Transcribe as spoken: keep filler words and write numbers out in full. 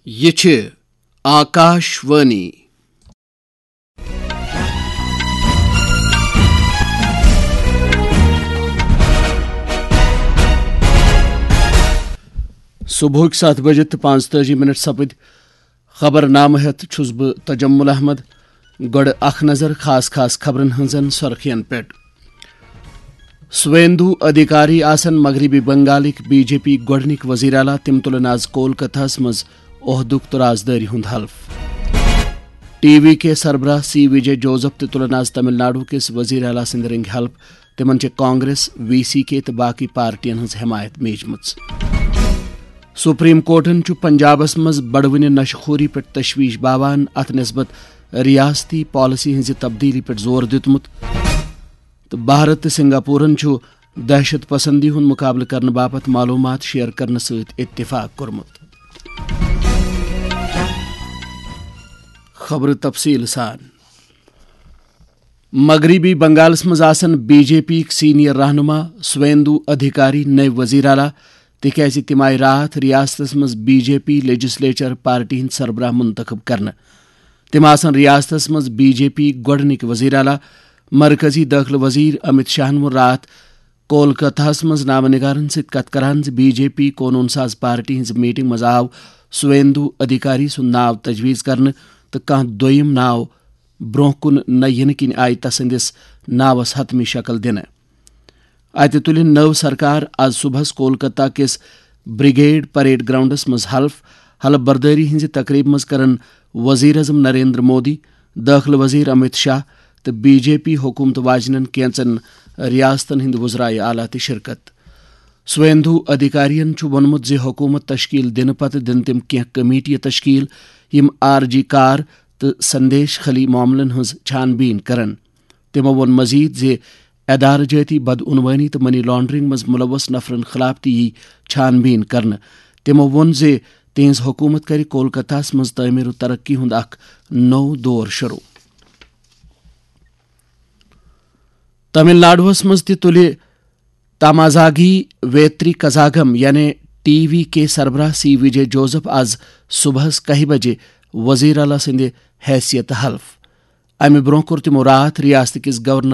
یہِ چھِ آکاش وانی۔ صبحٕکۍ ستھ بجہِ تہٕ پانٛژتٲجی منٹ سپٕدۍ۔ خبرنامہٕ ہٮ۪تھ چھُس بہٕ تجمل احمد۔ گۄڈٕ اکھ نظر خاص خاص خبرن ہٕنٛزن سرخین پٮ۪ٹھ۔ سویندو ادھیکاری آسن مغربی بنگالٕکۍ بی جے پی گۄڈٕنِکۍ وزیر اعلیٰ۔ تِم تُلن آز کولکتہس منٛز عہدُک تہٕ رازدٲری ہُنٛد حلف۔ ٹی وی کے سربراہ سی وجے جوزف تہِ تُلن آز تمل ناڈو کِس وزیر اعلیٰ سٕنٛدِ رنٛگہِ حلف۔ تِمن چھِ کانگریس، وی سی کے تہٕ باقی پارٹین ہٕنٛز حمایت میجمٕژ۔ سپریم کورٹن چھُ پنجابس منٛز بڑوٕنہِ نشہٕ خوری پٮ۪ٹھ تشویش باوان۔ اتھ نسبت ریاستی پالیسی ہٕنٛزِ تبدیلی پٮ۪ٹھ زور دیُتمُت۔ تہٕ بھارت تہٕ سنگاپورن چھُ دہشت پسندی ہُنٛد مقابلہٕ کرنہٕ باپتھ معلوٗمات شیئر کرنہٕ سۭتۍ اتفاق کوٚرمُت۔ خبرٕ تفصیٖل سان۔ مغربی بنگالس منٛز آسن بی جے پی یِکۍ سینئر رہنما سویندو ادھیکاری نٔوۍ وزیر اعلیٰ، تِکیازِ تِم آیہِ راتھ ریاستس منٛز B J P legislature party ہٕنٛدۍ سربراہ منتخب کرنہٕ۔ تِم آسن ریاستس منٛز بی جے پی گۄڈٕنِکۍ وزیر اعلیٰ۔ مرکزی دٲخلہٕ وزیر امت شاہن ووٚن راتھ کولکتہس منٛز نامہ نگارن سۭتۍ کتھ کران زِ بی جے پی قونوٗن ساز پارٹی ہٕنٛزِ میٹنگ منٛز آو سویندو ادھیکاری سُنٛد ناو تجویز کرنہٕ تہٕ کانٛہہ دوٚیِم ناو برونٛہہ کُن نہ یِنہٕ کِنۍ آیہِ تسٕنٛدِس ناوس حتمی شکل دِنہٕ۔ اتہِ تُلہِ نٔو سرکار از صبحس کولکتہ کِس بریگیڈ پریڈ گراؤنڈس منٛز حلف۔ حلف بردٲری ہٕنٛزِ تقریبہِ منٛز کرن وزیر اعظم نریندر مودی، دٲخلہٕ وزیر امت شاہ تہٕ بی جے پی حکومت واجنٮ۪ن کینژن ریاستن ہٕنٛدۍ وزرائے اعلیٰ تہِ شرکت۔ سویندو ادھیکارین چھُ ووٚنمُت زِ حکومت تشکیل دِنہٕ پتہٕ دِن تِم کینٛہہ کمیٹیہِ تشکیل، یِم آر جی کار تہٕ سندیش خلی معاملن ہٕنٛز چھان بیٖن کرن۔ تِمو ووٚن مزید زِ ادارٕ جٲتی بدعنوٲنی تہٕ منی لانڈرنگ منٛز ملوث نفرن خلاف تہِ یی چھان بیٖن کرنہٕ۔ تِمو ووٚن زِ تِہنٛز حکومت کرِ کولکتہس منٛز تعمیر و ترقی ہُنٛد اکھ نوٚو دور شروع۔ تمل ناڈوہس منٛز تہِ تُلہِ تامازاگی ویتری کزاگم یعنی ٹی وی کے سربراہ سی وجے جوزف از صبحس کاہہِ بجہِ وزیر اعلیٰ سٕنٛدِ حیثیت حلف۔ امہِ برونٛہہ کوٚر تِمو راتھ ریاست کِس گورنر